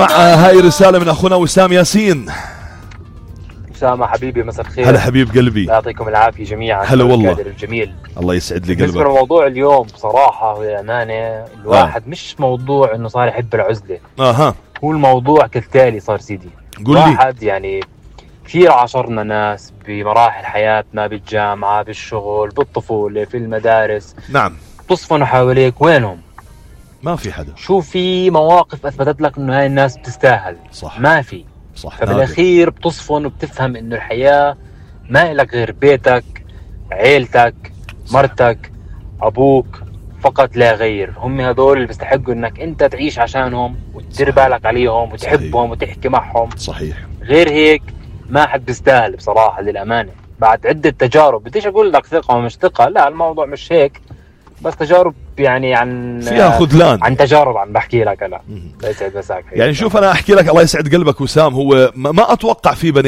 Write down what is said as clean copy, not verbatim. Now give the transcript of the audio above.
هاي رسالة من أخونا وسام ياسين. أسامة حبيبي مساء الخير. هلا حبيب قلبي. يعطيكم العافية جميعا. هلا والله. الجميل. الله يسعد لي قلبك. بالنسبة لموضوع اليوم بصراحة والأمانة الواحد مش موضوع إنه صار يحب العزلة. هو الموضوع كالتالي صار سيدي. قول لي. واحد يعني كثير عاشرنا ناس بمراحل حياتنا بالجامعة بالشغل بالطفولة في المدارس. نعم. تصفنوا حواليك وينهم؟ ما في حدا. شو في مواقف أثبتت لك إنه هاي الناس بتستاهل؟ صح. ما في. صح. فبالأخير بتصفن وبتفهم إنه الحياة ما إلك غير بيتك، عيلتك، مرتك، أبوك، فقط لا غير. هم هذول اللي بيستحقوا إنك أنت تعيش عشانهم وتدير بالك عليهم وتحبهم وتحكي معهم. صحيح. غير هيك ما حد بيستاهل بصراحة للأمانة. بعد عدة تجارب بديش أقول لك ثقة ومش ثقة، لا الموضوع مش هيك، بس تجارب يعني عن فيها خذلان، عن تجارب عم بحكي لك. أنا لا يسعد مساك. يعني شوف أنا أحكي لك الله يسعد قلبك وسام، هو ما أتوقع في بني